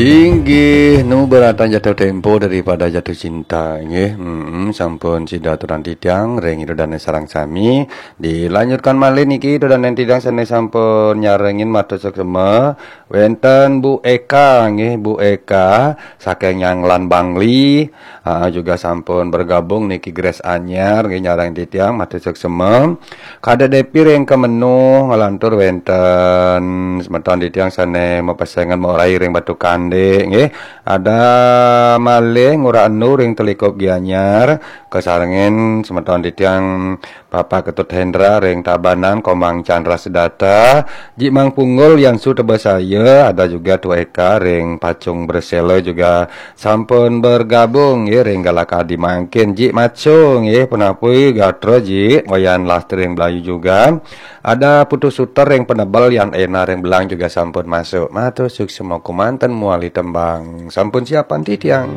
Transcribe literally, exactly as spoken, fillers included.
Inggih, nu beratan jatuh tempo daripada jatuh cinta, inggih. Mm-mm, sampun sida turan titiang ring Ida Dane sareng sami. Dilanjutkan malih niki Ida Dane titiang sane sampun nyarengin matur suksma. Wenten Bu Eka, nggih, Bu Eka saking Nyanglan Bangli. Ah, juga sampun bergabung niki Grace Anyar, nggih, nyareng titiang matur suksma. Kadek Depi ring Kemenuh, nglantur wenten semeton titiang sane mapesengan Morai ring Batu Kande, nggih. Ada malih Ngurah Enu ring Telikup Gianyar, kasarengin semeton titiang Bapak Ketut Hendra ring Tabanan, Komang Chandra Sedata, Ji Mang Punggul Yang Sutebasaya, ada juga Tu Eka ring Pacung Bersela juga sampun bergabung, nggih, ring galakadi mangkin. Ji Maco, nggih, Penapui Gatra, Ji, Wayan Lastri ring Belayu juga. Ada Putu Suter ring Penebel, Yan Ena ring Belang juga sampun masuk. Matur suksma kumanten muali tembang. Sampun siapan titiang.